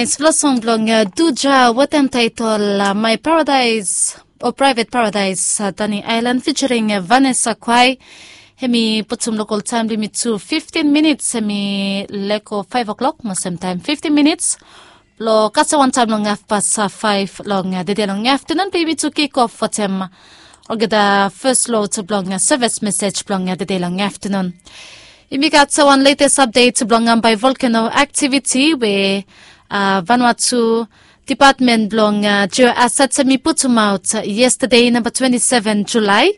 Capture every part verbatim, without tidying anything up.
Naes fala song blong Duja wetem taetol My Paradise o Private Paradise, Tani Island featuring Vanessa Kwai. Hemi putum lokol taem blong yumi tu fiftin minits, hemi lego faef o'klok mo semtaem fiftin minits. Long kasem wantaem long hafpas faef long tede long aftenun blong yumi tu kik of wetem olgeta fes lod blong sevis mesej blong tede long aftenun. Yumi gat wan letes apdet blong Ambae volkeno aktiviti we Vanuatu Depatmen blong Jio Asets hemi putumaot yestade namba twenti seven Julae,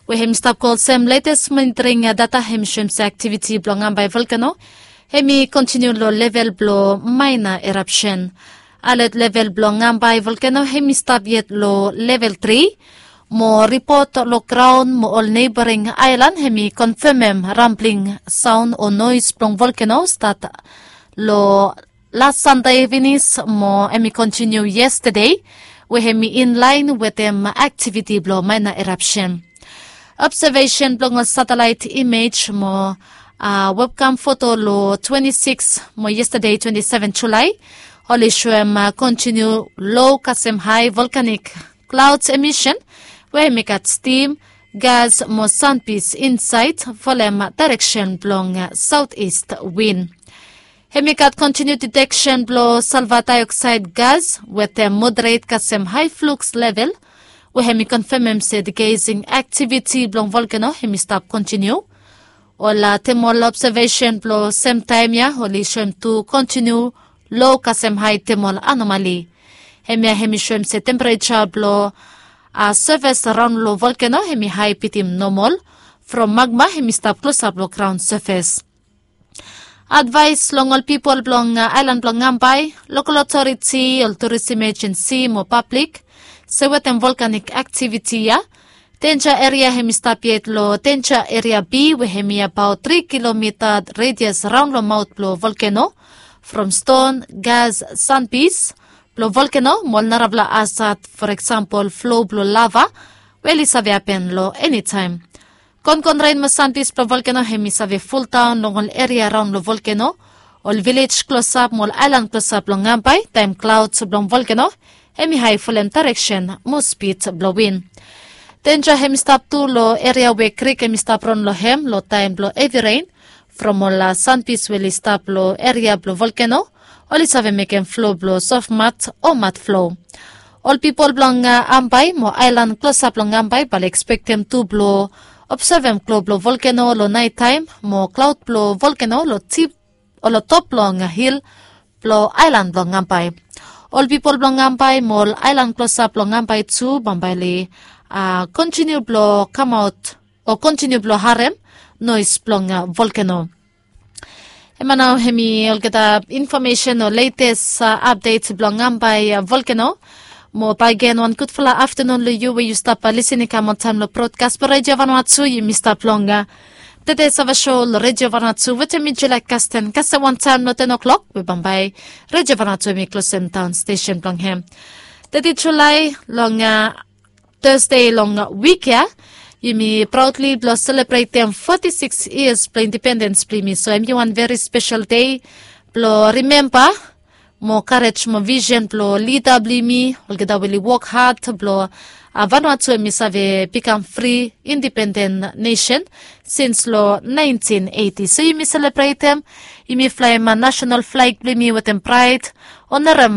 we hemi stap go olsem letes monitoring data hemi soem se aktiviti blong Ambae volkeno hemi kontiniu long level blong maena erapsen. Alet level blong Ambae volkeno hemi stap yet long level tri. Mo ripot long graon mo ol neboring aelan hemi konfemem rambling saon o noes blong volkeno stat long las Sande finis mo hemi kontiniu yestade, we hemi inlaen wetem aktiviti blong maena erapsen. Obsevesen blong ol satelaet imej mo webkam foto long twenti sikis mo yestade twenti seven Julae oli soem kontiniu lo kasem hae volkanik klaods emisen, we hemi gat stim, gas mo sanpis insaed folem daereksen blong saotis win. Hemi gat kontiniu diteksen blong salva daeoksaed gas wetem moderet kasem hae fluks level, we hemi konfemem se digesing aktiviti blong volkeno hemi stap kontiniu. Ol temol obsevesen blong semtaem ya oli soem tu kontiniu lo kasem hae temol anomali. Hemia hemi soem se tempereja blong seves raon long volkeno hemi hae bitim nomol from magma hemi stap klosap long graon seves. Advaes long ol pipol blong aelan blong Ambae, lokol otoriti, ol turis emejensi mo pablik se wetem volkanik aktiviti ya, denja eria hemi stap yet long denja eria B, we hemi abaot tri kilomita redias raon long maot blong volkeno, from ston, gas, sanpis blong volkeno mo ol narafala asat, for eksempel flo blong lava, we oli save hapen long enitaem. Konkonren mo sanpis blong volkeno hemi save fuldaon long ol eria raon long volkeno, ol vilej klosap mo ol aelan klosap long Ambae taem klaods blong volkeno hemi hae folem daereksen mo spid blong win. Denja hemi stap tu long eria we krik hemi stap ron long hem long taem blong hevi ren, from ol sanpis we oli stap long eria blong volkeno oli save mekem flo blong sofmat o mat flo. Ol pipol blong Ambae mo aelan klosap long Ambae bae oli ekspektem tu blong obsevem klo blong volkeno long naetaem mo klaod blong volkeno long tip o long top blong hil blong aelan blong Ambae. Ol pipol blong Ambae mo ol aelan klosap long Ambae tu bambae oli kontiniu blong kamaot o kontiniu blong harem noes blong volkeno. Hemia nao hemi olgeta infomesen o letes apdet blong Ambae volkeno. Mo bakegen wan gudfala aftenun long yu we yu stap lisin i kam wantaem long brodkas blong Redio Vanuatu. Yumi stap long tede save so long Redio Vanuatu wetem mi Julia Kasten kasem wantaem long ten o'klok we bambae Redio Vanuatu hemi klosem daon stesen blong hem. Tede Julae long Tasde long wik ya yumi praodli blong selebretem foti sikis yias blong indipendens blong yumi, so hemi wan veri spesel dei blong rimemba mo karej mo visen blong lida blong yumi olgeta we oli wok had blong Vanuatu hemi save bikam fri indipenden nesen sins long naentin eiti. So yumi selebretem, yumi flaem nasonal flag blong yumi wetem praed, onerem